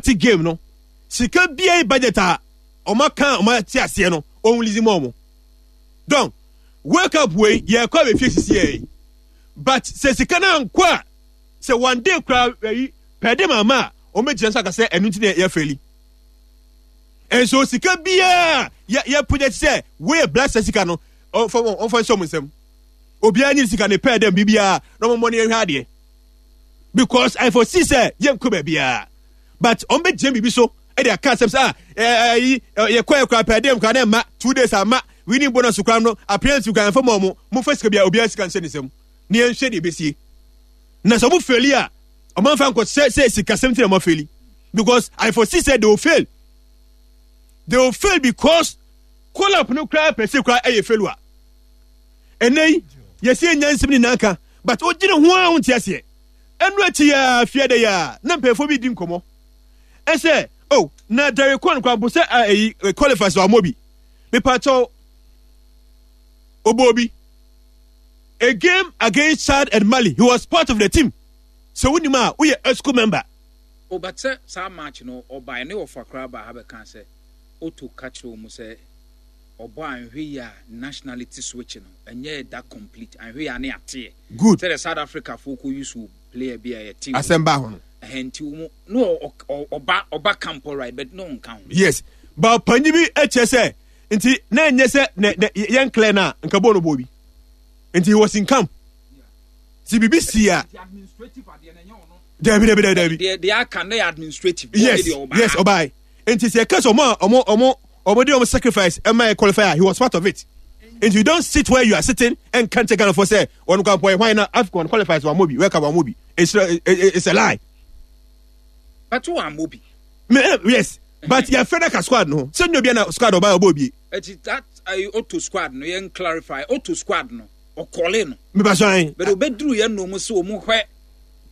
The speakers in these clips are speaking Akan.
start game no, sika biara yi budget a ɔmo aka a ɔmo ate aseɛ no, ɔmo release ma ɔmo. Don, World Cup wei yɛkɔ abɛfie sisi yɛ yi. But sɛ sika no ankɔ a, sɛ one day koraa ayi pɛɛ de ma ama a, ɔmo bɛgyina so aka sɛ ɛno nti na yɛfɛli. And so sika biara yɛ yɛ project sɛ wei yɛ Black Stars sika no, ɔmfa wɔn ɔmfa nhyɛ ɔmo nsam. Obiara nye sika ne pɛɛ dɛm biribiara na ɔmo mmɔ ne yɛnhwɛ adeɛ. Because I foresee sɛ yɛnkɔ baabiara. But ɔmo bɛgyina biribi so ɛde aka asɛm sɛ ah ɛyi yɛkɔ yɛ koraa pɛɛ dɛm koraa na ɛma 2 days ama winning bonus koraa no appearance koraa ɛmfa ma ɔmo. Momfa sika biara obiara sika nhyɛ ne nsam na yɛnhwɛ deɛ ɛbɛsie. Na sɛ ɔmo faili a ɔmo amfa nkɔ sɛ sɛ sikasɛm ti na ɔmo afaili. Because I foresee sɛ they will fail. They will fail because call up no koraa pɛ sɛ koraa ɛyɛ failure. Ɛnɛ yi yɛsi enya nsɛm nyinaa ka but ogyina ho a wonte aseɛ. Ɛno akyi ya fia dɛ ya na mpanyinfoɔ bi di nkɔmɔ. Ɛsɛ oh na Derek Kwan koraa mpo sɛ ɛyi qualifies wɔ amɔ bi. Mepakyɛw ɔbɔ bi. A game against Chad and Mali he was part of the team. Sɛ wonim a woyɛ EXCO member. Oh but sɛ saa match no ɔbae ne ɔfa koraa baa ha bɛkaa sɛ Otto ka kyerɛ wɔn sɛ ɔbɔ a anhwɛ yie a nationality switch no ɛnyɛ that complete anhwɛ yie a ne ateɛ. Good. Sɛdeɛ South Africa foɔ kɔ use player bi a yɛte wɔn. Asɛm baa ho no. Ɛhɛn nti wɔn no ɔba ɔba camp alright but no nka ho. Yes but panyin bi kyerɛ sɛ nti na ɛnyɛ sɛ nɛ nɛ yɛn clear na nka bɔɔl no bɔɔ bi nti he was in camp. Ti bibi si a. Dabi dabi dabi dabi. Deɛ deɛ aka no yɛ administrative. Yes ɔbaa nti sɛ ɛka sɛ ɔmo a ɔmo ɔmo ɔmo de ɔmo sacrifice ɛma yɛ qualify a he was part of it. Nti you don't sit where you are sitting and can't take Ghana for sɛ ɔno kwan pɔ ɛhwan na AFCON qualifies wɔn mo bi World Cup wɔn mo bi it's a lie. But wɔn mo bi. Me yes but yɛ fɛ daka squad no sɛ nyɛ obi na squad ɔbaa ɔbɔ obi. Eti that Otto squad no yɛn clarify Otto squad no ɔkɔle no. Meba so ayi. But obeduru yɛn nom sɛ wɔn hwɛ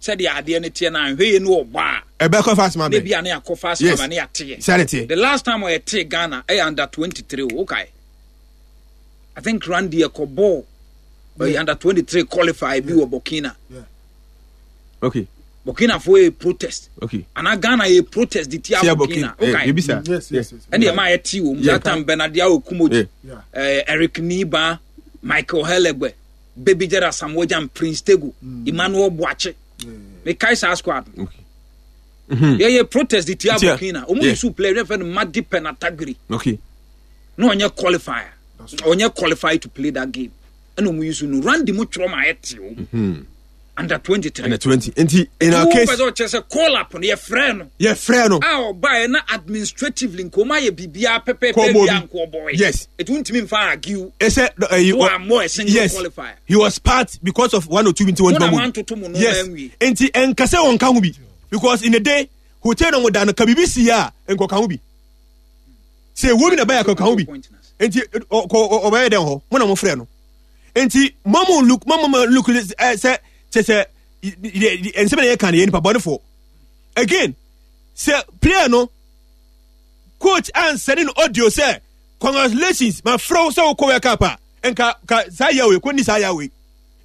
sɛdeɛ adeɛ no teɛ no anhwɛ yɛ no ɔbɔ a. Ɛbɛkɔ fast ma bɛ. Ne bi a ne akɔ fast ma ne ate yɛ. Sɛ ne teɛ. The last time ɔyɛ te Ghana ɛyɛ under 23 o okay. I think Randy ɛkɔ ball ɔyɛ under 23 qualify bi wɔ Burkina. Yeah. Okay. Burkina fo yɛ protest. Okay. Ana Ghana yɛ protest de tia Burkina. Okay. Ebisa. Yes. Ɛna ɛma yɛ ti wɔm. That time Bernard Yao Kumoji, Eric Niba, Michael Helegbe, Baby Jada Samuel Jam, Prince Tego, Emmanuel Boakye. Me kai saa squad. Okay. Yɛ yɛ protest de tia Burkina. Omu yeah. Yusu player yɛ fɛ no Madi Penatagiri. Okay. No ɔnyɛ qualifier. Ɔnyɛ qualified to play that game. Ɛna omu yusu no Randy mu twerɛ ma yɛ te o. Under 23. Under 20. Nti in our case. Wọ́n pɛ sɛ ɔkyerɛ sɛ call up no yɛ frɛ no. Yɛ frɛ no. A ɔba yɛ na administratively nkɔmɔ ayɛ biribiara pɛpɛɛpɛ bi a nkɔ ɔbɔ yɛ. Yes. Etu ntumi nfa argue. Ɛsɛ ɛyi. Wọ́n amɔ a single yes. qualifier. He was part because of one or two nti wɔn ntoma mu. Wɔn mu no yes. Nti nkasɛ wɔn ka ho bi because in the day hotel na wɔn da no ka biribi si yɛ a nkɔka ho bi. Sɛ ewu bi na ɛbɛyɛ akɔka ho bi. Nti ɔkɔ ɔbɛyɛ dɛn hɔ mo na mo frɛ no. Nti mɔmu look mɔmu look ɛ sɛ kyɛ sɛ nsɛm na yɛ kan yɛ nipa bɔnefoɔ again sɛ player no coach ansɛne no audio sɛ congratulations ma frɛ wo sɛ wokɔ World Cup a nka ka saa yɛ wei kɔ ni saa yɛ wei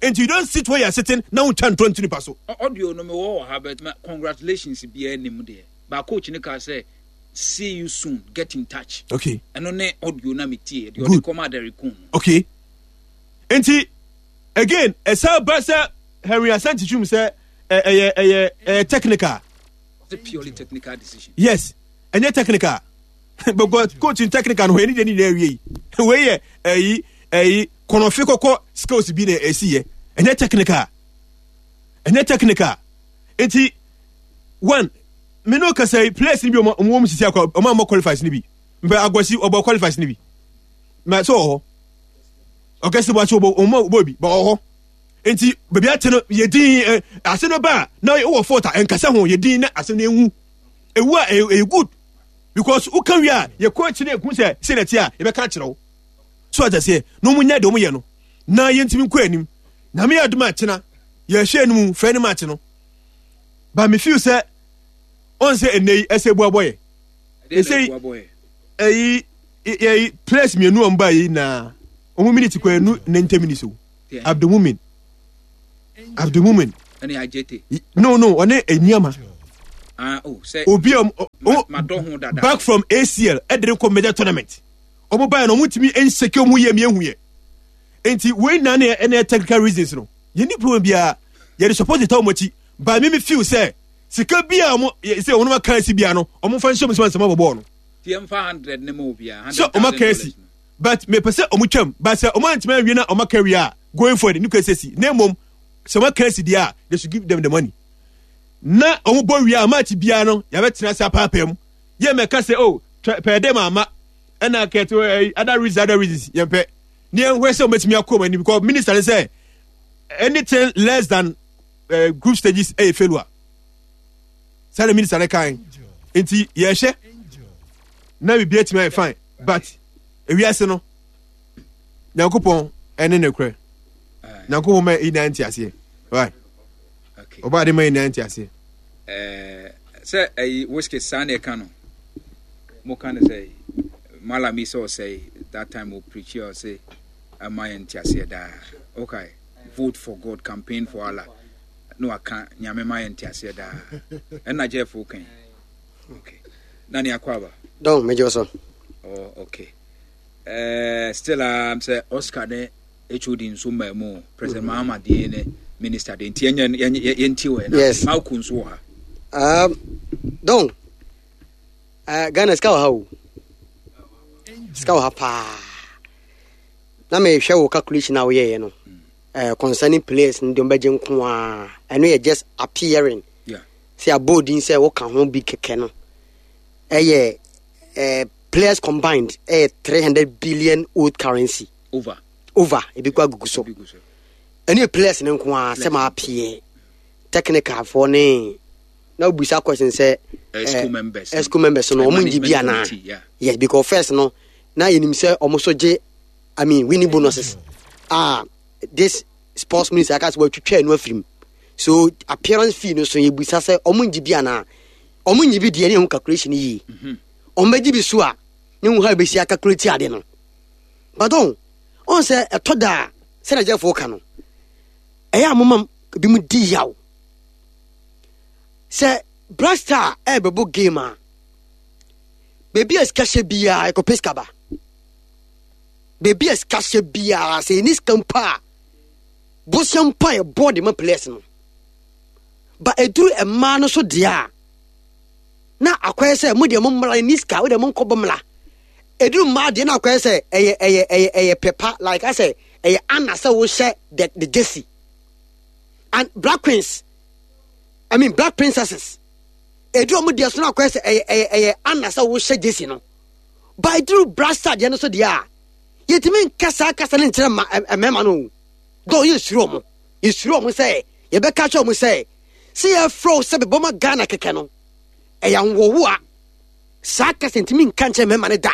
nti you don't sit where you are sitting na wontwa ntorɔ nto nipa so. Audio no mewɔ wɔ ha but congratulations biara nim deɛ ba coach no kaa sɛ see you soon get in touch. Okay. Ɛno ne audio na metie deɛ ɔde kɔma Derek Kuhn no. Okay. Nti again ɛsɛ ba sɛ Henry Asante twum sɛ ɛyɛ ɛyɛ ɛyɛ technical. It's a purely technical decision. Yes, ɛnyɛ technical because coach in technical no ɛni deɛ ni nyinaa wie yi wei yɛ ɛyi ɛyi kɔnɔfe kɔkɔ skills bi na ɛsi yɛ ɛnyɛ technical ɛnyɛ technical nti one me no kasa yi players ni bi ɔmo ɔmo sisi akɔ ɔmo amɔ qualifies ni bi mpɛ agwasi ɔbɔ qualifies ni bi mɛ so wɔ hɔ ɔkɛse bɔ akyi ɔbɔ ɔmo bɔ bi bɔ wɔ hɔ nti baabi ate no yɛ din ɛ ase no ba a na wɔ fault a nkasa ho yɛ din na ase no ewu ewu a ɛyɛ ɛyɛ good because woka wie a yɛ kɔ akyi na eku sɛ sɛ na ti a yɛbɛka akyerɛ wo so ɔtɛ seɛ na ɔmo nyɛ deɛ ɔmo yɛ no na yɛntumi nkɔ anim na meyɛ adum akyena yɛhwɛ anim fɛ anim akye no but me feel sɛ ɔn sɛ ɛnɛ yi ɛsɛ ebu abɔ yɛ ɛsɛ yi ɛyi ɛyi players mmienu a wɔn ba yi na wɔn minute kɔ ɛnu 90 minutes o Abdulmumin Abdulmumin ɛne Ajete no no ɔne Eniama ah oh sɛ obi a Madɔ ho dada. Back from ACL ɛde ne kɔ major tournament. Ɔmo baeɛ no ɔmo ntumi nhyɛke ɔmo yie mmiɛnhu yɛ. Nti wei nyinaa ne ɛna technical reasons no. Yɛn ni problem biara. Yɛde support ta ɔmo akyi. But me me feel sɛ sika bi a ɔmo sɛ ɔmo aka asi biara no ɔmo nfa nhyɛ ɔmo nsam ansa ɔmo abɔ bɔɔl no. Ti yɛn fa hundred ne ma obiara. Sɛ ɔmo aka asi. But mepɛ sɛ ɔmo twam. But sɛ ɔmo antumi anwie na ɔmo aka wie a going forward ne kura sɛ si. Na mmom sɛ ɔmo aka asi deɛ a they should give them the money. Na ɔmo bɔ wie a match biara no yɛabɛtena ase apaapaa mu. Yɛ mɛka sɛ oh pɛɛ dɛ ma ama ɛna kɛte eh, other reasons other reasons yɛn pɛ. Ne yɛn hwɛ sɛ ɔmo atumi akɔ ɔmo anim because minister ne sɛ anything less than group stages ɛyɛ failure. Sɛ minister ne kan nti yɛhwɛ na biribi atumi ayɛ fine but ewiase no nyankopɔn ɛne ne korɛ nyankopɔn ma ɛyi nan nte aseɛ right ɔba ade ma ɛyi nan nte aseɛ. Sɛ ɛyi whiskey saa na ɛka no mo ka no sɛ malami sɛ ɔsɛe that time o preach ɔsɛ ɛma yɛn nte aseɛ daa okay vote for God campaign for Allah na waka nyame ma yɛn nte aseɛ daa ɛna Jeff kan okay na ne akɔ aba don megye so. Oh okay. Still um, sɛ Oscar ne HOD nso mmaa mu President mm -hmm. Mahama deɛ ne minister deɛ nti yɛnyɛ yɛnti wɔ yɛn yes. Malco nso wɔ ha. Don Ghana sika wɔ ha o sika wɔ ha paa na mehwɛ wo calculation a woyɛeɛ no concerning players no deɛ ɔmbɛgye nko a ɛno yɛ just appearing sɛ abɔ odin sɛ woka ho bi kɛkɛ no ɛyɛ players combined ɛyɛ 300 billion old currency over over ebi kɔ agugu so ɛne yɛ players no nko a sɛ maa peɛ technical foɔ ne na wobisa question sɛ esco members no ɔmo ngye bi anaa yes because first no na yɛnim sɛ ɔmo so gye I mean winning bonuses ah this sports minister aka sɛ wɔatwitwa ɛno afiri mu so appearance fee no so yɛbisa sɛ ɔmo ngye bi anaa ɔmo ngye bi deɛ ne ɛho calculation yie mhm. ɔmo bɛgye bi so a ne ho ha bɛsi acalculate ade no but ɔn ɔn sɛ ɛtɔ da a sɛdeɛ gyɛfoɔ ka no ɛyɛ a moma bi mu di yaw sɛ Black Star ɛrebɛbɔ game a baabi a sika hyɛ biara ɛkɔpɛ sika ba baabi a sika hyɛ biara sɛ ɛni sika mpo a bosia mpo a yɛbɔ de ma players no ba ɛduru mmaa no so deɛ a na akɔyɛ sɛ mo deɛ mo mmra ɛni sika wo deɛ mo nkɔbɔ mmra ɛduru mmaa deɛ na akɔyɛ sɛ ɛyɛ ɛyɛ ɛyɛ ɛyɛ pɛpa like asɛ ɛyɛ ana sɛ wohyɛ the the jersey and black queens I mean black princesses ɛduru ɔmo deɛ so na akɔyɛ sɛ ɛyɛ ɛyɛ ɛyɛ ana sɛ wohyɛ jersey no ba ɛduru brasa deɛ no so deɛ a yɛtumi nka saa kasa no nkyerɛ ma mmarima no o dɔn yɛsuro ɔmo yɛsuro ɔmo sɛ yɛbɛka kyerɛ ɔmo sɛ sɛ yɛfrɛ wo sɛ bɛbɔ ma Ghana kɛkɛ no ɛyɛ ahoɔhoɔ a saa kasa ntumi nka nkyerɛ mmarima no da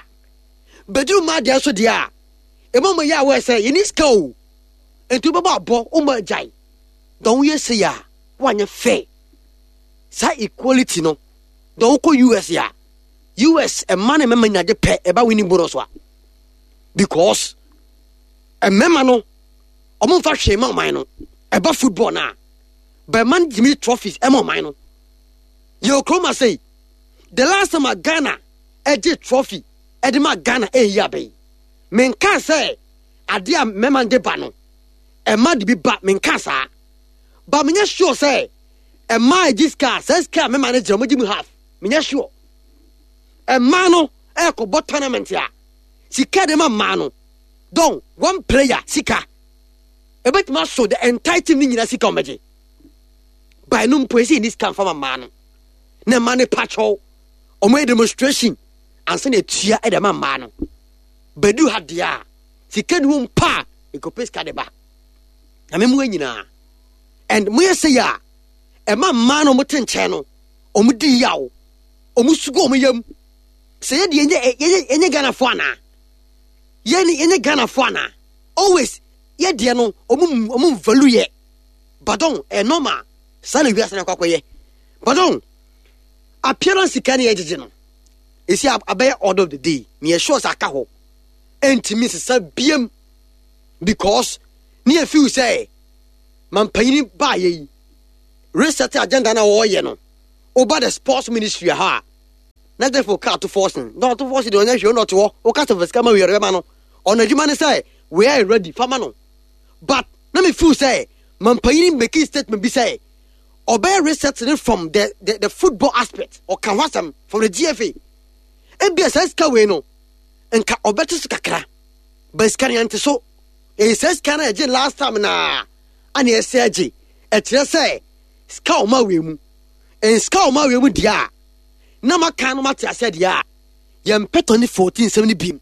bɛduru mmaa deɛ so deɛ a ɛma mo yɛ awɔ sɛ yɛni sika o nti wobɛbɔ abɔ woma agyae dɔn woyɛ sei a woanyɛ fair saa equality no dɔn wokɔ US a US mma ne mmarima nyina de pɛ ɛba winning bonus a because mmarima no ɔmo nfa hwee ma ɔman no ɛba football no a bɛma no gyimi trophies ɛma ɔman no yɛ okurom ase the last time a Ghana ɛgye trophy ɛde ma Ghana ɛyi abɛyi menka sɛ adeɛ a mmarima de ba no ɛma de bi ba menka saa ba menyɛ sure sɛ ɛma ɛgye sika saa sika a mmarima no gye ɔmo gye mu half menyɛ sure mmaa no ɛkɔbɔ tournament a sika de ma mmaa no don one player sika ebetumi aso the entire team ne nyinaa sika ɔmɛgye by no mpo esi ni sika nfa ma mmaa no na mmaa no pakyɛw ɔmo yɛ demonstration ansa na etua ɛde ma mmaa no bɛdu ha deɛ a sika ni wɔm pa a ekɔpɛ sika de ba na mɛ mu nyinaa and mo yɛ sɛ yɛ a ɛma mmaa no ɔmo te nkyɛn no ɔmo di yaw ɔmo sugu ɔmo yam sɛ yɛ deɛ yɛnyɛ yɛnyɛ yɛnyɛ Ghanafoɔ anaa yɛn yɛnyɛ Ghanafoɔ anaa always yɛ deɛ no ɔmo ɔmo value yɛ badɔn ɛyɛ normal saa na wiase no akɔ akɔyɛ badɔn appearance sika ne yɛgyegye no esi abɛyɛ order of the day ne yɛ sure sɛ aka hɔ ɛntumi sesa biem because ne yɛ feel sɛ mampanyini baayɛ yi reset agenda na wɔyɛ no woba the sports ministry ha a. Na therefore ka Ato Forson. Na Ato Forson deɛ ɔnyɛ hwee ɔna ɔte hɔ. Woka sɛ fa sika ma wei ɔde bɛma no. Ɔno adwuma ne sɛ wei ayɛ ready fa ma no. But na me feel sɛ mampanyini making statement bi sɛ ɔbɛyɛ research ne from the, the, the football aspect. Ɔka ho asɛm from the GFA. Ebia saa sika wei no nka ɔbɛte so kakra. But sika no yɛnte so. Ɛyɛ saa sika no a yɛgye last time na ana yɛsɛ agye. Ɛkyerɛ sɛ sika ɔma wei mu. Nsika ɔma wei mu deɛ a na maka no mate aseɛ deɛ a yɛmpɛ 2014 nsɛm no biem.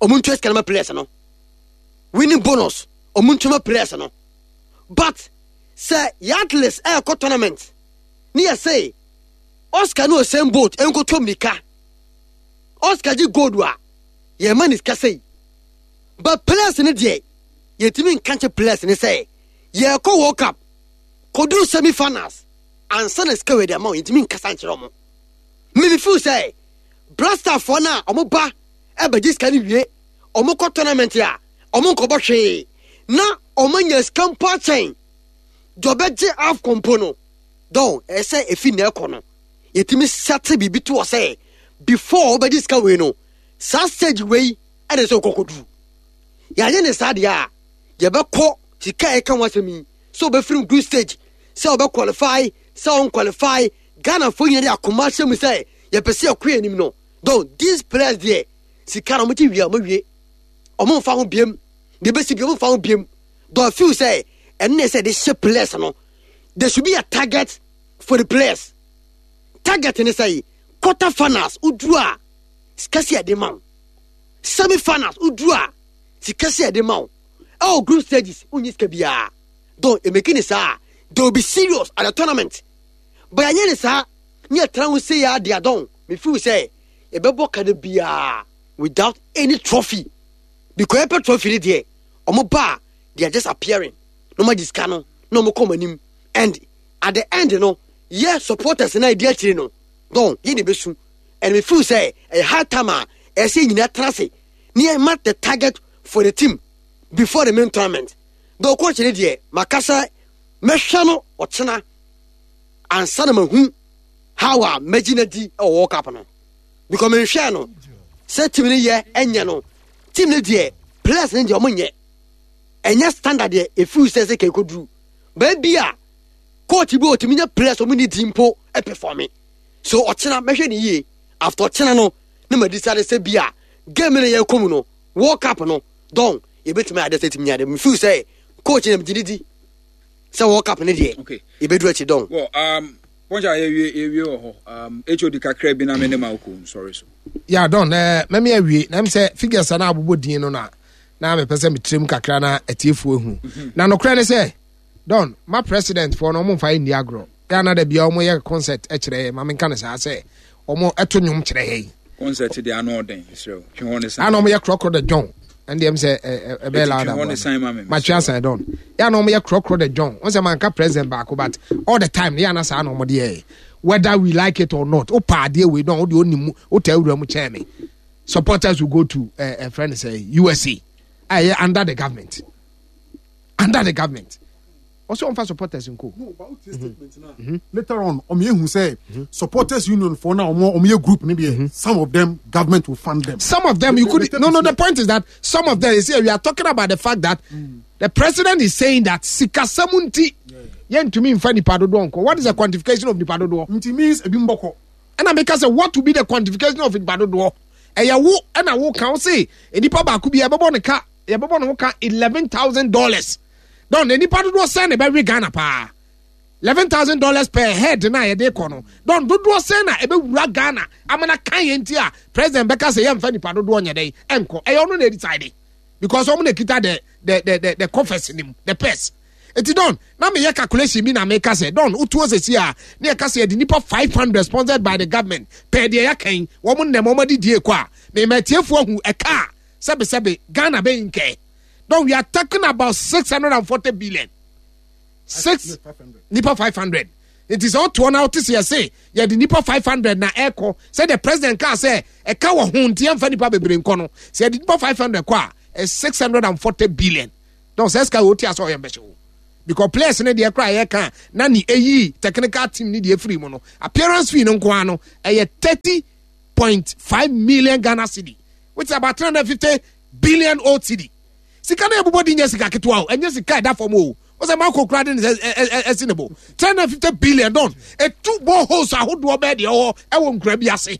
Ɔmo ntua sika no ma players no. Winning bonus ɔmo ntua ma players no. But sɛ yɛ athletes ɛɛkɔ tournament ne yɛ se Oscar ne Usain Bolt nkoto mirika. Oscar gye gold a yɛma ne sika sei. But players no deɛ yɛtumi nka nkyɛ players no sɛ yɛkɔ World Cup kɔduru semi finals ansa na sika wei de ama wɔn, yɛntumi nkasa nkyerɛ wɔn. Me me feel sɛ Blasterfoɔ no a wɔn ba ɛbɛgye sika no wie wɔn kɔ tournament a wɔn nkɔbɔ hwee na wɔn anya sika mpo akyɛn deɛ ɔbɛgye AFCON mpo no dɔn ɛsɛ efi na ɛkɔ no yɛtumi sɛte biribi to hɔ sɛ before wɔbɛgye sika wei no saa stage wei ɛna sɛ ɔkɔkɔduru yɛanyɛ ne saa deɛ a yɛbɛkɔ sika a ɛka ho asɛm yi sɛ ɔbɛfiri group stage sɛ ɔbɛ qualify sɛ ɔn qualify Ghana fo nyina de akoma ahyɛ mu sɛ yɛpɛ sɛ yɛkɔ yɛn anim no don these players deɛ sika no ɔmo gye wie a ɔmo wie ɔmo nfa ho biem deɛ bɛsi bi ɔmo nfa ho biem don I feel sɛ ɛno na ɛsɛ de hyɛ players no there should be a target for the players target ne sɛ quarter finals woduru a sika si ɛde ma wo semi finals woduru a sika si ɛde ma wo ɛwɔ group stages wonyi sika biara don emeki ne saa they will be serious at the tournament but yɛnyɛ ne saa ne yɛtena ho sei ara deɛ don me feel sɛ yɛbɛbɔ ka no biara without any trophy because yɛpɛ trophy ne deɛ ɔmo ba a they are just appearing na ɔmo agye sika no na ɔmo kɔ ɔmo anim and at the end no yɛ supporters na ɛdi akyire no don yɛ na ɛbɛsu and me feel sɛ ɛyɛ high time a ɛsɛ yɛ nyinaa tena ase ne yɛ mark the target for the team before the main tournament though coach ne deɛ maka sɛ mɛhwɛ no ɔkyena ansa na mahu how a mɛgye no adi wɔ World Cup no because menhwɛɛ no sɛ team no yɛ ɛnyɛ no team no deɛ players no deɛ ɔmo nyɛ ɛnyɛ standard deɛ ɛfiri sɛ sɛ kɛkɔduru baabi a coach bi ɔtumi nya players ɔmo ne di mpo ɛpɛfɔme so ɔkyena mɛhwɛ ne yie after ɔkyena no ne ma decide sɛ bi a game no yɛkɔ mu no World Cup no dɔn yɛbɛtumi ayɛ sɛ tumi ayɛ me feel sɛ coach na megye ne di sɛ World Cup no deɛ okay. yɛbɛduru akyi dɔn. Well, pɔnkyɛ a yɛwie yɛwie wɔ hɔ HOD kakra bi na me ne ma wokɔ nsɔre so. Yeah, dɔn mɛmi awie na m sɛ figures a na abobɔ din no na na mepɛ sɛ metrem kakra na atiefoɔ ehu mhm. na nokorɛ ne sɛ dɔn ma president foɔ no ɔmo mfa nni agorɔ yɛ ana da bia ɔmo yɛ concert kyerɛ yɛ ma menka no saa sɛ ɔmo ɛto nnwom kyerɛ yɛ concert deɛ ano ɔden mesrɛ twe hɔ ne san ana ɔmo yɛ krɔkrɔ the john ɛnde ɛm sɛ ɛbɛyɛ loud aboa matwe asan dɔn yɛ ana ɔmo yɛ krɔkrɔ the john wɔn sɛ manka president baako but all the time yɛ ana saa na ɔmo de yɛ whether we like it or not o pa adeɛ wei dɔn o de onim mu o ta awura mu kyɛn mi supporters will go to ɛɛ uh, friend sɛ USA a ɛyɛ under the government under the government ɔsɛ ɔnfa supporters nko. no but o ti statement na mm-hmm. later on ɔmo ehu sɛ mm-hmm. supporters union for now ɔmo ɔmo yɛ group ni deɛ mm-hmm. some of them government will fund them. some of them you could no no the point is that some of them you see we are talking about the fact that mm. the president is saying that sikasɛm nti yɛntumi nfa nipa dodoɔ nkɔ what is the quantification of nipa dodoɔ. nti means ebi mbɔkɔ. ɛna mi ka sɛ what will be the quantification of nipa dodoɔ ɛyɛ wo ɛna wo kan se nipa baako bi ɛbɛbɔ ne ka yɛbɛbɔ ne ho ka $11,000 dɔn na nipa dodoɔ sɛn na ɛbɛwe Ghana paa $11,000 per head na yɛde kɔ no dɔn dodoɔ sɛn na ɛbɛwura Ghana amana kan yɛn ti a president bɛka sɛ yɛmfa nipa dodoɔ nyɛ dɛn ɛnkɔ ɛyɛ ɔno na ɛdecide because ɔmo na ɛkita the the the the the coffers nim the purse eti dɔn na meyɛ calculation bi na meka sɛ dɔn wotuo sɛsi a ne yɛka sɛ yɛde nipa 500 sponsored by the government pɛɛ deɛ yɛaka yi wɔn nnɛm wɔn adidie kɔ a mema atiefoɔ ahu ɛka a sɛbe sɛbe Ghana bɛ nkɛ don we are talking about 640 billion six nipa 500 nti sɛ ɔtoɔ na ɔte sɛ yɛse yɛde nipa 500 na ɛkɔ sɛ the president kaa sɛ ɛka wɔ ho nti yɛmfa nipa bebree nkɔ no sɛ yɛde nipa 500 kɔ a 640 billion don sɛ sika wɔti asɛ ɔyɛ mbɛhyɛ wo. Because players no deɛ koraa yɛka na ne ɛyi technical team ne deɛ firi mu no, appearance fee no nko ara no ɛyɛ 30.5 million Ghana cedi, which is about 350 billion old cedi. Sika no ɛbobɔ di nyɛ sika ketewa o, ɛnyɛ sika ɛda fam o. Wọ́n sɛ mako kura de ne sɛ ɛsi ne bo 350 billion don etu boreholes ahodoɔ bɛɛ deɛ ɛwɔ ɛwɔ nkura bi ase.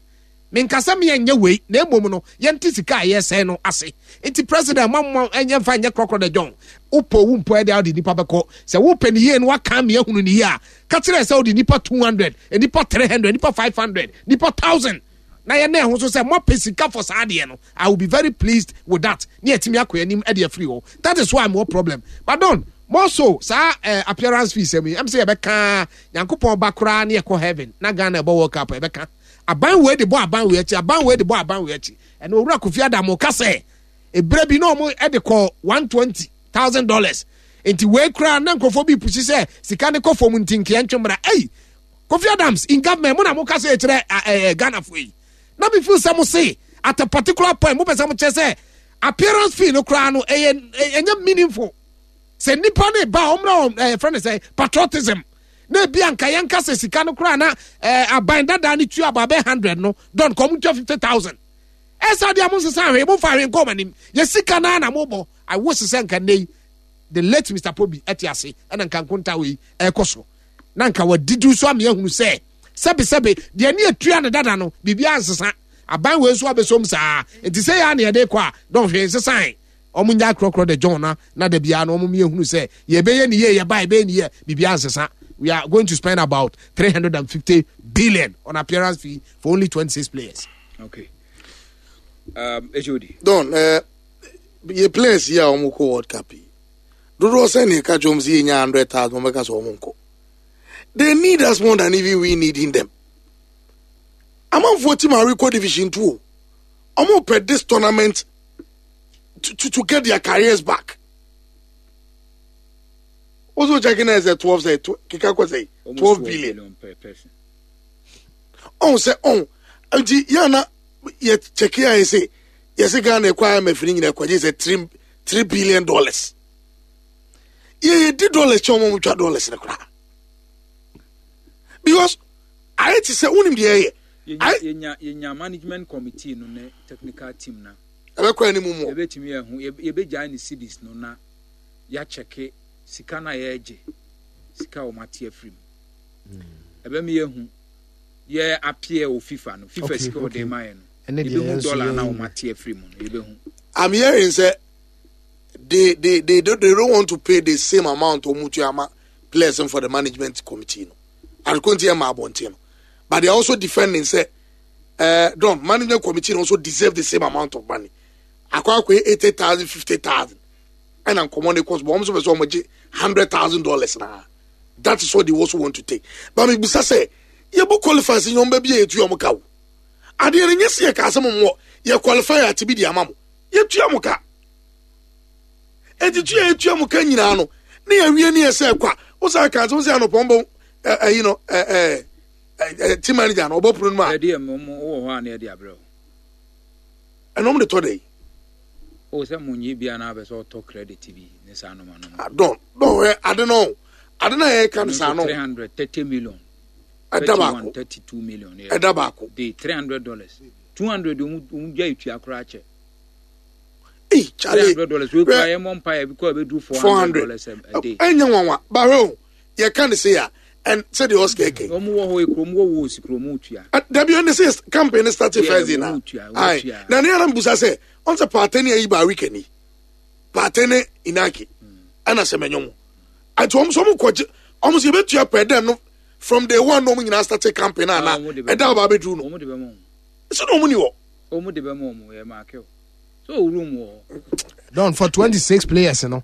Menka sɛ meɛ nyɛ wei na mmom no yɛnte sika a yɛsɛe no ase. Nti president ma mo ɛnyɛ mfa nyɛ korɔkorɔ da John. Wopɛ owu mpo ɛde a wode nipa bɛkɔ. Sɛ wopɛ ne yie no waka me ahunu ne yie a, ka kyerɛ sɛ wode nipa 200, nipa 300, nipa 500, nipa 1000 na yɛn na ɛho so sɛ moapɛ sika for saa adeɛ no. I will be very pleased with that. Ne yɛtumi akɔ anim ɛde afiri hɔ. That is why mewɔ problem. But don more so saa eh, appearance fees ɛmu yi ɛm sɛ yɛbɛka Nyankopɔn ba koraa ne yɛkɔ heaven na Ghana ɛbɔ World Cup yɛbɛka aban wei de bɔ aban wei akyi aban wei de bɔ aban wei akyi. Ɛna owura Kofi Adamo ka sɛ ebere bi na wɔn de kɔ $120,000 nti wei koraa na nkurɔfoɔ bi pusi sɛ sika ne kɔ fam nti nkeɛ ntwe mmra. Ei, Kofi Adams in government mo na mo ka sɛ ɛkyerɛ ɛɛ Ghana fo yi na mi feel sɛ mo se at a particular point mo pɛ sɛ mo kyerɛ sɛ appearance fee no koraa no ɛyɛ ɛnyɛ meaningful sɛ nipa ne ba ɔmra wɔn ɛɛ fɛn ne sɛ patriotism na ebi anka yɛn ka sɛ sika no koraa na ɛɛ aban dada ne tua aba bɛ 100 no dɔn kɔn mo tua 50,000 ɛsɛ adeɛ mo nsesa ahwɛ mo nfa ahwɛ nkɔm anim yɛ sika naa na mo bɔ. I wish sɛ nka nne yi the late Mr Pobi ɛte ase ɛna nka nkonta wei ɛkɔ so na nka wadidi so ama yɛahunu sɛ sɛbesɛbe deɛ ne atua no dada no biribiara nsesa aban wei nso abɛsom saa nti sɛ yɛ a na yɛde kɔ a dɔn hwee nsesan wɔn nya akorɔkorɔ de John na na da biara no wɔn yɛhunu sɛ yɛbɛyɛ ne yie yɛba yɛbɛyɛ ne yie biribiara nsesa. We are going to spend about 350 billion on appearance fee for only 26 players. Okay. HOD. Don, yɛ players yi a wɔn kɔ World Cup yi dodoɔ sɛ ne ɛka kyerɛ wɔn sɛ yɛnya 100,000 wɔn bɛka sɛ wɔn nkɔ. They need us more than even we needing them. Amanfoɔ team a rekɔ Division 2 o, wɔn pɛ this tournament to get their careers back. Also checking as a 12 say keka kɔ sɛ 12 billion. Oh sɛ oh nti yɛn na yɛ check yɛ sɛ yɛsɛ Ghana ɛkɔ IMF ne nyina ɛkɔgye sɛ $3 billion. Yɛ yɛ di dollars kyɛn wɔn twa dollars ne koraa because ayɛ te sɛ wonim deɛ ɛyɛ. Yɛnya management committee no ne technical team na. Ɛbɛkɔ anim mu. Yɛbɛtumi ɛho yɛbɛgyae ne cedis no na yɛakyɛke sika no a yɛregye sika a wɔn ate afiri mu. Ɛbɛma yɛahu yɛ appear wɔ FIFA no FIFA sika ɔde ma yɛ no yɛbɛhu dollar na wɔn ate afiri mu no yɛbɛhu. I'm hearing say they don't want to pay the same amount wɔn tua ama players for the management committee no adekunti ɛma abɔnten no, but they are also defending say don management committee also deserve the same amount of money akɔ akɔ 80,000 50,000 ɛna nkɔmɔ ne kɔ so but wɔn nso pɛ sɛ wɔn gye $100,000 na that is what they also want to take. But mi bisa sɛ yɛ bɔ qualify sɛ nyɔn bɛ bi yɛ etu wɔn ka o adeɛ no nyɛ si yɛ ka asɛm mo yɛ qualify ati bi di ama mo yɛ tua mo ka eti tua yɛ tua mo ka nyinaa no ne yɛ wie ne yɛ sɛ kwa wosan ka asɛm sɛ anɔpɔn bɔ ɛ ɛyi no ɛ ɛ ɛ team manager no ɔbɔ pono no mu a. Ɛdi ɛmu mu wɔ hɔ a ne yɛ de abrɛ o. Ɛnum de tɔ de yi. O sɛ mo nyi bia na abɛ sɛ ɔtɔ credit bi ne saa noma no. Ah, don ɛ ade no ade na yɛ ka no saa no. 330 million. Ɛda baako. 32 million. Ɛda baako. De $300 200 ɔmu gya etua koraa kyɛ. Ee Charlie. $300 wey kura yɛ mɔ mpa yɛ bi kɔ ɛbɛ du $400 a day. Ɛnyɛ nwanwa baro o yɛ ka ne se ya ɛn sɛ deɛ ɔsika ɛkɛ. Wɔn wɔ hɔ ekuro wɔn wɔ wɔ osi kuro wɔn tua. Dabi ɛn sɛ campaign start first day na ayi na ne yɛrɛ busa sɛ ɔn sɛ paate ne ayi ba weekend yi paate ne inaki ɛna sɛ mɛnyɛ mo ati wɔn sɛ wɔn kɔ gye wɔn sɛ yɛbɛtua pɛ dɛm no from day one na wɔn nyinaa start campaign ana ɛda ɔba abɛduru no Wɔn de bɛ mɔ wɔn. Sɛ na wɔn ni hɔ. Wɔn de bɛ mɔ wɔn yɛ maa kɛw so room wɔ hɔ. Don for 26 players no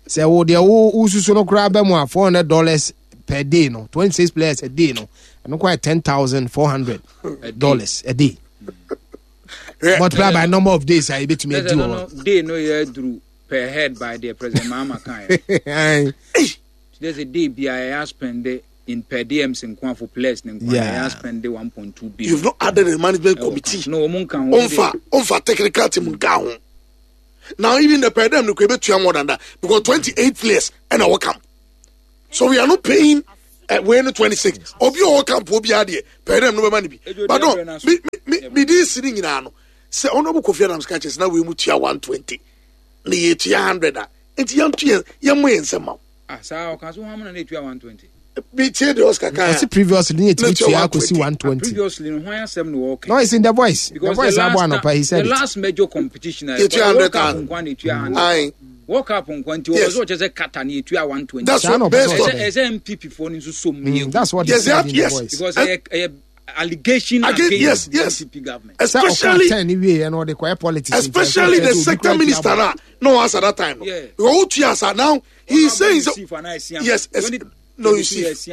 sɛ wo deɛ wo wosusu no koraa bɛ mu a $400 per day no 26 players a day no ɛno kɔ yɛ $10,400 a day multiply by number of days a yɛbɛtumi adi wɔ hɔ. Day no yɛ duru per head by the President Mahama kan yɛ. There's a day bi a yɛ spend in per diems nko for players ne nko a yɛ spend 1.2 billion. You've not added a management committee. No, wɔn nka ho. Onfa technical team nka ho. Now even the per diem no kò ebetua more than that because 28 players ɛna wɔkam. So we are not paying wei no 26. Obi a ɔwɔ camp obi adeɛ pɛɛ dɛm no bɛma no bi. But no, me me me di si ne nyinaa no. Sɛ Honorable Kofi Adams ka kyerɛ sɛ na wei mu tua 120 na yɛtua 100 a, nti yɛnto yɛn yɛmmɔ yɛn nsɛm ma wo. Ah, saa ɔka so hɔn na na etua 120. Bi tie deɛ Oscar kan a. Ɔsi previously ne yɛtumi tua akɔsi 120. Previously no hwan asɛm na wɔka. No, it's in the voice. The voice abɔ anɔpa he said it. The last major competition a yɛtua 100,000. World Cup nkwa na etua 100. Aye. World Cup nkwa nti wɔpɛ sɛ wɔkyɛ sɛ Qatar na etua 120. That's what based on. Ɛsɛ MPP foɔ no nso so mu yɛ. That's what they said in the voice. Because ɛyɛ allegation against yes, yes. NPP government. Especially especially the sector minister na no answer that time. No. Yeah. Because who tua now he is saying so, yes, no Yusuf.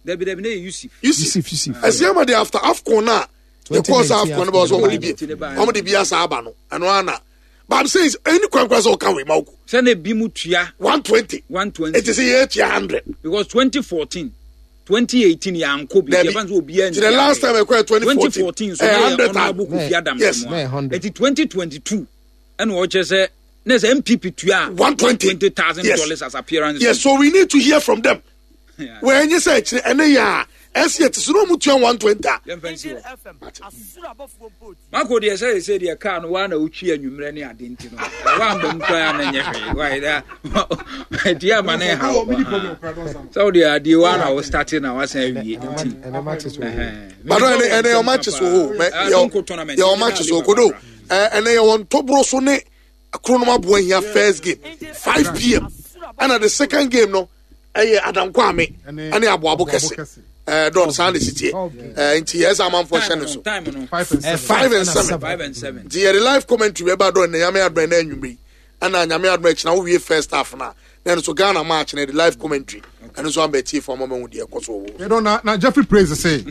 Dabi dabi ne Yusuf. Yusuf Yusuf. Asiama de after AFCON na the course AFCON about so wɔn de bi wɔn de bi asa aba no ɛno ana. But I'm saying any kwan kwan sɛ ɔka wei ma oko. Sɛ na ebi mu tua. 120. 120. It is yɛ tua 100. Because 2014. 2018 yɛankɔ bi yɛfa nso obiara nti the last time ɛkɔ yɛ 2014 2014 so na yɛ honorable Kofi Adams yes mu a nti 2022 ɛna ɔkyerɛ sɛ na sɛ NPP tua 120,000 dollars as appearance yes so we need to hear from them wɔnyɛ sɛ akyire ɛne yɛ a ɛsi ɛte so na ɔmo tua 120 a. Yɛmfa nsi hɔ. Mako deɛ sɛ sɛ deɛ kaa no waa na wotwi anwummerɛ ne ade nti no woamba mu koraa na nyɛ hwee wae da ɛti ama ne ha sɛ wode adeɛ waa na wo starte na wasan awie nti bado ɛne ɛne yɛ ɔma kye so o yɛ ɔma kye so kodo ɛne yɛ wɔn ntɔboro so ne kronom aboa hia first game 5 pm ɛna the second game no ɛyɛ adankwame ɛne aboabo kɛse ɛɛ dɔn saa na esi teɛ ɛɛ nti yɛ ɛsɛ amanfoɔ hyɛ ne so five and seven nti yɛde live commentary bɛba dɔn na nyame adum ɛna enyimire yi ɛna nyame adum ɛkyina wowie first half na na ɛno so Ghana match na yɛde live commentary ɛno nso amba tie fo ama ma hu deɛ ɛkɔ so wɔ. Yɛdɔn na na Jeffrey Praise sɛ.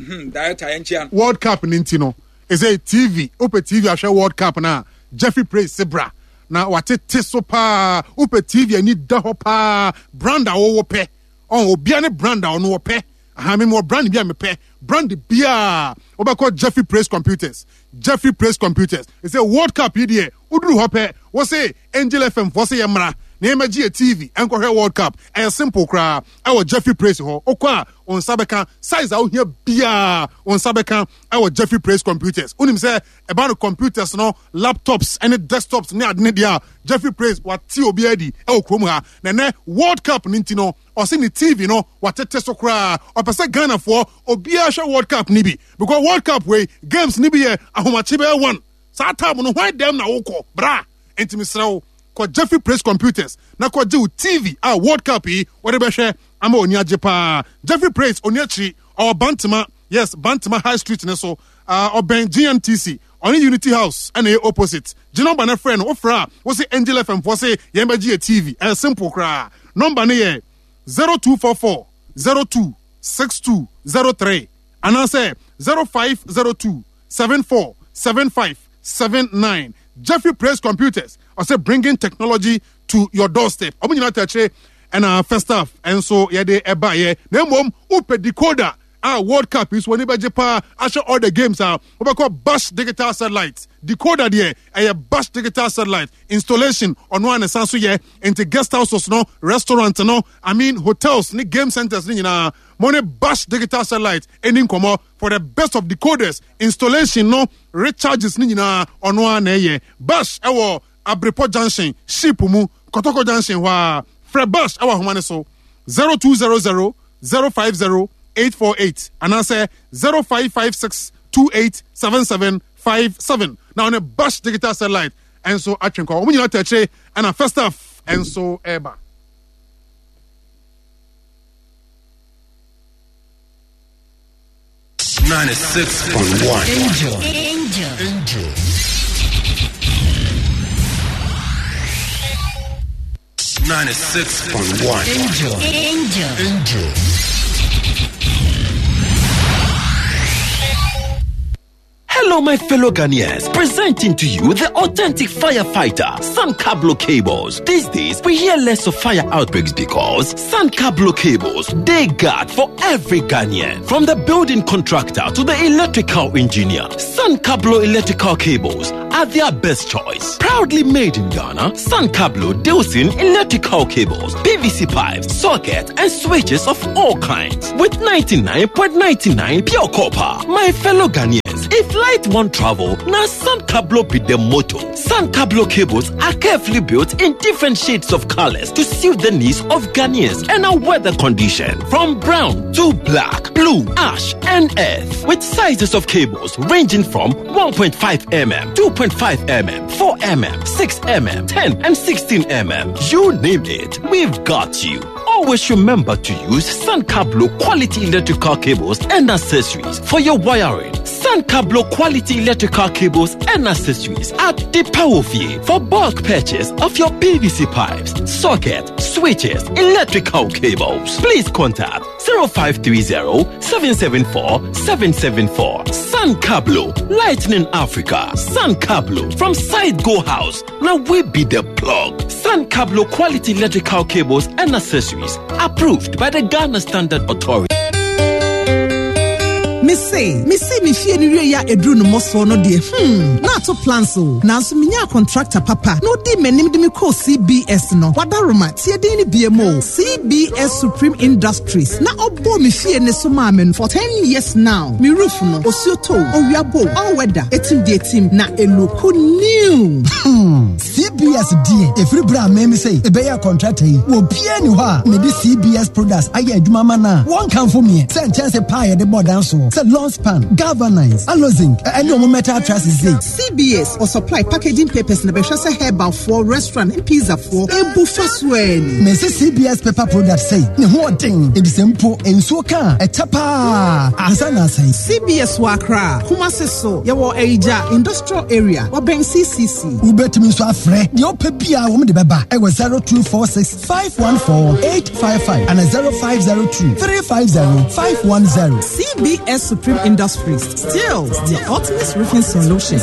World Cup ne nti no ɛsɛ TV wopɛ TV ahwɛ World Cup na Jeffrey Praise se bra na watete so paa wopɛ TV ani da hɔ paa brand a wɔwɔ pɛ ɔn obia ne brand a ɔno wɔpɛ aha me wɔ brand bi a mepɛ brand biaa wobɛkɔ Jeffrey Praise Computers Jeffrey Praise Computers ɛsɛ World Cup yi deɛ woduru hɔ pɛ wo se Angel FM foɔ se yɛmmra na yɛmmɛgye yɛ TV nkɔhwɛ World Cup ɛyɛ simple koraa ɛwɔ Jeffrey Praise hɔ wokɔ a wo nsa bɛka size a wohia biaa wo nsa bɛka ɛwɔ Jeffrey Praise Computers wonim sɛ ɛba no computers no laptops ne desktops ne ade ne deɛ a Jeffrey Praise wate obi adi ɛwɔ kurom ha na ɛnɛ World Cup no nti no ɔse ne TV no watete so koraa ɔpɛ sɛ Ghanafoɔ obiara hwɛ World Cup no bi because World Cup wei games no bi yɛ ahomakye bɛyɛ one saa time no hwan dɛm na wokɔ bra nti mesrɛ wo kɔ Jeffrey Praise Computers na kɔgye wo TV a World Cup yi wɔde bɛhwɛ ama oni agye paa Jeffrey Praise oni akyiri ɔwɔ Bantama yes Bantama High Street ne so ɔbɛn GMTC ɔne Unity House ɛna ɛyɛ opposite gye nɔmba no frɛ no wofrɛ a wo se Angel FM foɔ se yɛn bɛgye yɛ TV ɛyɛ simple koraa nɔmba no yɛ 0244 02 6203 anaasɛ 0502 74 75 79 Jeffrey Praise Computers ɔsɛ bringing technology to your doorstep ɔmo nyinaa tɛkyerɛ ɛna first half ɛnso yɛde ɛbaeɛ na mmom wopɛ decoder a World Cup yi so w'ani bɛgye paa ahyɛ all the games a wobɛkɔ Bash Digital Satellite decoder deɛ ɛyɛ Bash Digital Satellite installation ɔno a ne san so yɛ nti guest houses no restaurant no I mean hotels ne game centers ne nyinaa mo ne Bash Digital Satellite ɛni nkɔmmɔ for the best of decoders installation no recharges ne nyinaa ɔno a na ɛyɛ Bash ɛwɔ Abrepɔ Junction ship mu Kɔtɔkɔ Junction hɔ a frɛ Bash ɛwɔ ahoma ne so 0200 050 848 anaasɛ 0556 287757 na ɔne Bash Digital Satellite ɛnso atwe nkɔ wɔn nyinaa tɛ akyire ɛna first half ɛnso ɛreba. 96.1 Angel. Angel. Angel. 96.1 Angel. Angel. Angel. Hello, my fellow Ghanaians. Presenting to you the authentic firefighter, San Cablo Cables. These days, we hear less of fire outbreaks because San Cablo Cables, they guard for every Ghanaian. From the building contractor to the electrical engineer, San Cablo Electrical Cables are their best choice. Proudly made in Ghana, Sancablo deals in electrical cables, PVC pipes, sockets, and switches of all kinds. With 99.99 pure copper. My fellow Ghanaians, if light won't travel, now Sancablo be the motto. Sancablo cables are carefully built in different shades of colors to suit the needs of Ghanaians and our weather condition. From brown to black, blue, ash, and earth. With sizes of cables ranging from 1.5 mm, 2.5 mm, 4 mm, 6 mm, 10 and 16 mm. You name it, we've got you. Always remember to use Sancablo quality electrical cables and accessories for your wiring. Sancablo quality electrical cables and accessories at the Powerfie for bulk purchase of your PVC pipes, socket, switches, electrical cables. Please contact 0530 774 774. Sancablo, Lightning Africa. Sancablo from Side Go House. Now we be the plug. Sancablo quality electrical cables and accessories approved by the Ghana Standard Authority. Mese, mesi me fie no wie a eduru no mmɔsoɔ no deɛ, hmm, na ato plans o. Nanso menyaa contractor papa na ɔdii m'anim de me kɔɔ CBS no. Wadaroma, tie din no biam o, CBS Supreme Industries na ɔbɔɔ me fie no so maa me no for ten years now. Me roof no, osuo tɔ o, owia bɔ o, all weather, etim deɛ etim, na eluku new. Hmm, CBS deɛ, ɛfiri berɛ a meme sɛ ɛbɛyɛ contractor yi, obiara ni hɔ a mede CBS products ayɛ adwuma ma no a wɔnkamfo meɛ sɛ nkyɛnse paa yɛde bɔ dan soɔ sɛ long span, galvanize, alozinc, ɛne ɔmo metal trusses sei. CBS ɔ supply packaging papers na bɛhwɛ sɛ herbal foɔ, restaurant ne pizza foɔ ebu fa so ɛni. Mese CBS paper product sei ne ho ɔden efisɛ mpo nsuo ka a ɛkyɛ paa ansa na asɛe. CBS wɔ Accra, Kumasi so yɛwɔ Ayigya Industrial Area, wɔbɛn CCC. Wobɛtumi nso afrɛ deɛ wopɛ biara wɔn de bɛba ɛwɔ 0246 514 855 ana 0502 350 510. CBS Supreme Industries, still the ultimate roofing solution.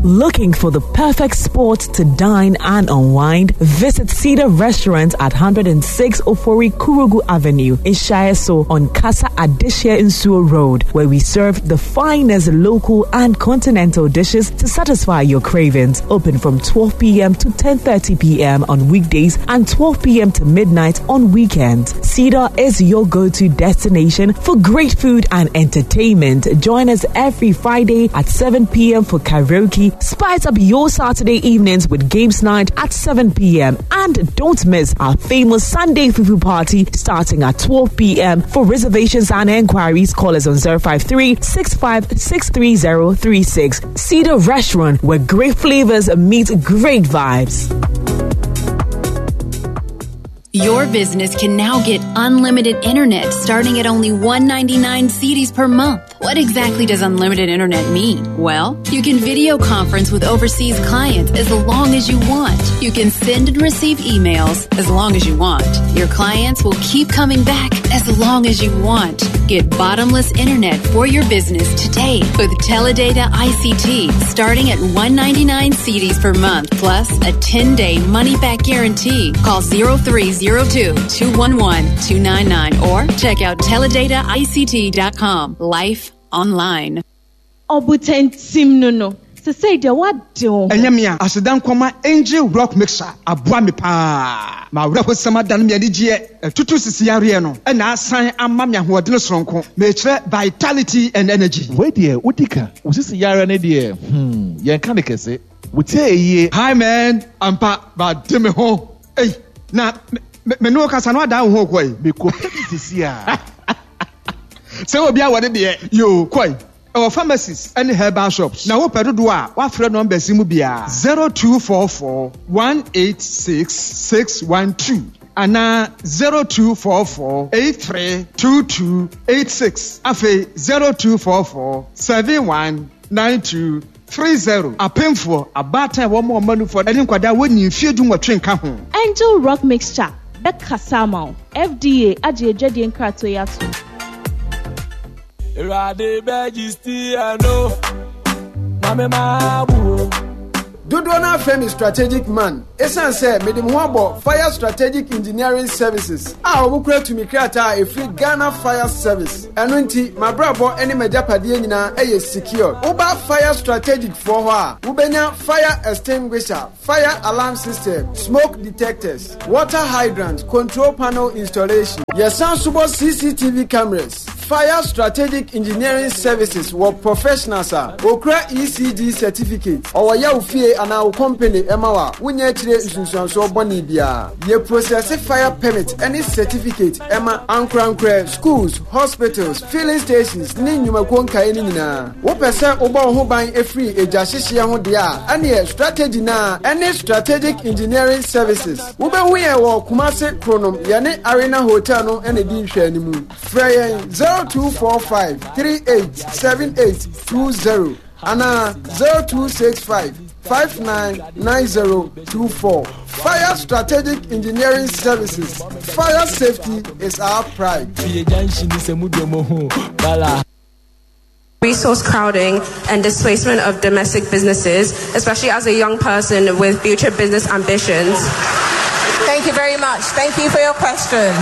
Looking for the perfect spot to dine and unwind? Visit Cedar Restaurant at 106 Ofori Kurugu Avenue in Shaeso on Casa Adesha Insuo Road, where we serve the finest local and continental dishes to satisfy your cravings. Open from 12 p.m. to 10:30 p.m. on weekdays and 12 p.m. to midnight on weekends. Cedar is your go-to destination for great food and entertainment. Join us every Friday at 7 p.m. for karaoke. Spice up your Saturday evenings with games night at 7 p.m. And don't miss our famous Sunday Fufu party starting at 12 p.m. For reservations and enquiries, call us on 053 6563036. Cedar Restaurant, where great flavors meet great vibes. Your business can now get unlimited internet starting at only 199 cedis per month. What exactly does unlimited internet mean? Well, you can video conference with overseas clients as long as you want. You can send and receive emails as long as you want. Your clients will keep coming back as long as you want. Get bottomless internet for your business today with Teledata ICT starting at 199 cedis per month plus a 10-day money-back guarantee. Call 0302 211 299 or check out teledataICT.com. Life online. Ɔbotantim no no, sesei deɛ woade wo ho. Ɛnyɛ me a, aseda nkɔma Angel Rock Mixer aboa me paa. M'awerɛhosɛm adane me anigyeɛ, atutu sisi yareɛ no na asan ama me ahoɔdene soronko. Mekyerɛ vitality and energy. Wei deɛ wodi ka. Wo sisi yareɛ no deɛ hmm yɛnka no kɛse. Wo tie yie. Hi man, ampa made me ho ei na me ne wo kasa no adan wo ho kɔ ei. Mekɔ pɛ bi sisi a. Sɛ obi awɔ ne deɛ yoo kɔe. Ɛwɔ pharmacies ne herbal shops. Na wopɛ dodoɔ a, woafrɛ numbers yi mu biara, 0244 186 612 anaa 0244 83 22 86. Afei 0244 71 92 30. Apemfoɔ, abaatan a wɔma wɔn mma nufoɔ ne nkwadaa a wɔnnii mfeɛ dunwɔtwe nka ho. Angel Rock Mixture bɛkasa ama wo. FDA agye adwadie nkratoɔ yi atom. Awurade bɛgye still no na me ma wo. Dodoɔ no ara frɛ me Strategic Man ɛsiane sɛ mede me ho abɔ Fire Strategic Engineering Services a wɔkura tumi krataa a ɛfiri Ghana Fire Service. Ɛno nti, m'abrabɔ ne m'agyapadeɛ nyinaa yɛ secured. Woba Fire Strategic foɔ hɔ a, wobɛnya fire extinguisher, fire alarm system, smoke detectors, water hydrant, control panel installation. Yɛsan nso bɔ CCTV cameras. Fire Strategic Engineering Services wɔ professionals a wɔkura ECG certificate. Ɔwɔ yɛ wo fie anaa wo company ma wo a, wonnya akyire nsunsuansoɔ bɔne biara. Yɛ processe fire permit ne certificate ma ankorankorɛ, schools, hospitals, filling stations ne nnwumakuo nkaeɛ no nyinaa. Wopɛ sɛ wobɔ wo ho ban firi egya hyehyeɛ ho deɛ a, ɛneɛ strategy no ara ne Strategic Engineering Services. Wobɛhu yɛn wɔ Kumase Kronom, yɛne Arena Hotel no na ɛdi nhwɛanimu. Frɛ yɛn 0245 38 78 20 anaa 0265 599024. Fire Strategic Engineering Services, fire safety is our pride. Resource crowding and displacement of domestic businesses, especially as a young person with future business ambitions? Thank you very much. Thank you for your question.